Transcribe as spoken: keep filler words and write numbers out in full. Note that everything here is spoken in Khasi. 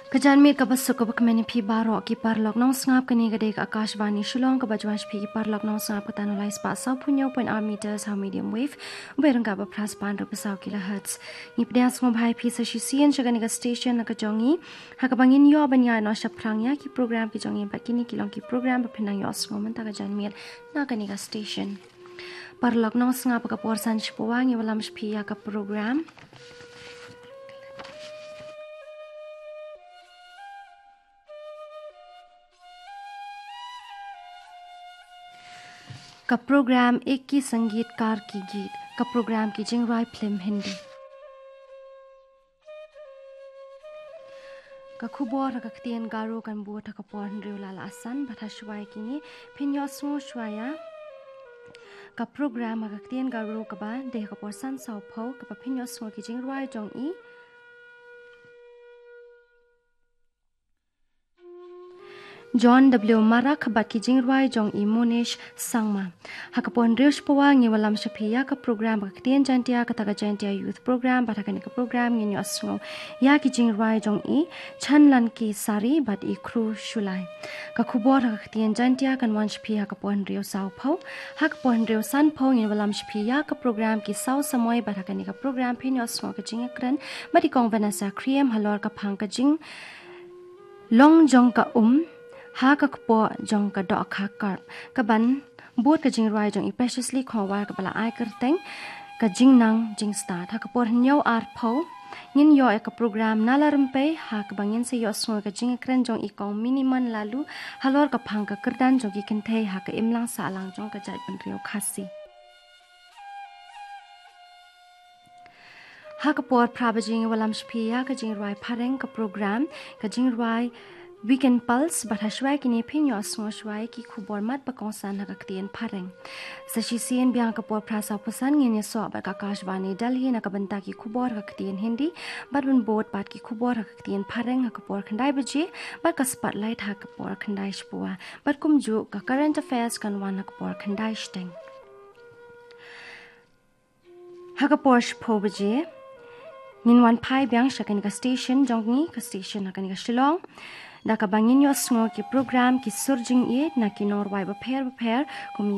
Ka janmiet kaba suk kaba kmen ïa phi baroh ki paralok nongsngap. Kane ka dei ka Akashvani Shillong kaba ju wan sha phi ki paralok nongsngap kata na u lai spah sawphew hynñiew point ar meters ha u medium wave, u byrngka ba phra spah hynriewphew saw kilohertz. Ngi pdiang sngewbha ïa phi sa shisien sha kane ka station na ka jong ngi, ha kaba ngin ïoh ban ïaid noh shaphrang ïa ki program ki jong ngi bad kine ki long ki program ba phin nang ïohsngew mynta ka janmiet na kane ka station. Paralok nongsngap, ha ka por san shapoh ngi wallam sha phi ïa ka program. Ka program Ek Hi Sangeetkar Ki Geet, ka program ki jingrwai phlim Hindi. Ka khubor ha ka ktien Garo kan bud ha ka por hynriew la la san, bad ha shuwa ïa kine phin ïohsngew shuwa ïa ka program ha ka ktien Garo kaba dei ha ka por san sawphew, kaba phin ïohsngew ki jingrwai jong i John W Marak bad ki jingrwai jong i Monish Sangma. Ha ka por hynriew shapoh ngi wallam sha phi ïa ka program ha ka ktien Jaintia, kata ka Jaintia Youth Program, bad ha kane ka program ngin ïohsngew ïa ki jingrwai jong i Chanlan K Sari bad i Khru Shulai. Ka khubor ha ka ktien Jaintia kan wan sha phi ha ka por hynriew sawphew. Ha ka por hynriew sanphew ngin wallam sha phi ïa ka program Ki Saw Samoi, bad ha kane ka program phin ïohsngew ka jingïakren bad i Kong Vanessa Khriem halor ka phang ka jing long jong ka um ha ka kpoh jong ka dohkha karp, kaban bud ka jingrwai jong i Preciously Khongwar, kaba la ai kyrteng Ka Jingnang Jingstad. Ha ka por hynñiew arphew ngin ïoh ïa ka program Nala Rympei, ha kaba ngin sa ïohsngew ka jingïakren jong i Kong Minimon Laloo halor ka phang ka kyrdan jong ki kynthei ha ka imlang sahlang jong ka jaitbynriew Khasi. Ha ka por phra baje ngi wallam sha phi ïa ka jingrwai phareng, ka program ka jingrwai Weekend Pulse, bad ha shuwa ïa kine phin ïohsngew shuwa ïa ki khubor mat ba kongsan ha ka ktien phareng. Sa shisien biang ha ka por phra sawphew san ngin ïasoh bad ka Akashvani Delhi na ka bynta ki khubor ha ka ktien Hindi, bad ban bud bad ki khubor ha ka ktien phareng ha ka por khyndai baje, bad ka Spotlight ha ka por khyndai shapoh, bad kumjuh ka Current Affairs kan wan ha ka por khyndai shiteng. Ha ka por shiphew baje ngin wan phai biang sha kane ka station jong ngi, ka station ha kane ka Shillong, da kaba ngin ïohsngew ki program Ki Sur Jingïeit na ki nongrwai bapher bapher, kum